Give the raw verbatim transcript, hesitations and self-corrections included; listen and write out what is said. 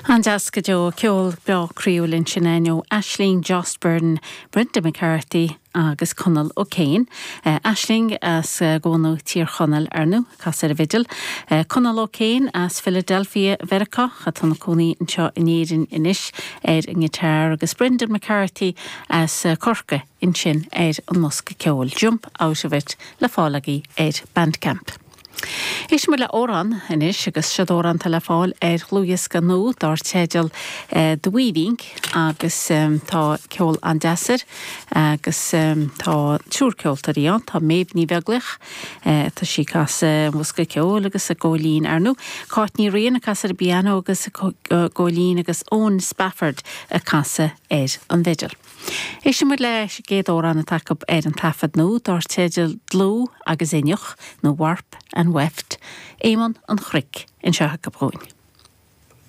An-deas go deo ceol breá croíúil ansin ó Aisling Jost-Byrne, Brendan McCarthy agus Conall O'Kane. Uh, Aisling as uh, gContae Thír Chonaill ar ndóigh ag casadh ar an bhfidil. Uh, Conall O'Kane as Philadelphia Mheiriceá atá ina chónaí anseo in Éirinn anois ar an ngiotár agus Brendan McCarthy as uh, Corcaigh ansin ar an mbosca ceoil. Jump out of it le fáil agaibh ar Bandcamp. Éistfidh muid le amhrán anois agus seo amhrán le fáil ar dhlúthdhiosca nua dar teideal uh, The Weaving agus um, tá ceol an-deas air agus um, tá triúr ceoltóirí ann tá Méabh Ní Bheaglaoich uh, tá sí ag casadh an bhosca ceoil agus an gcóilín ar ndóigh. Cáit Ní Riain ag casadh ar an bpianó agus an gcóilín agus Eoin Spafford ag casadh ar an bhfidil. Éistfidh muid leis an gcéad amhrán atá acu ar an taifead nua dar teideal Dlúth agus Inneach nó Warp and Weft, Éamonn an Chnoic anseo acu dhúinn.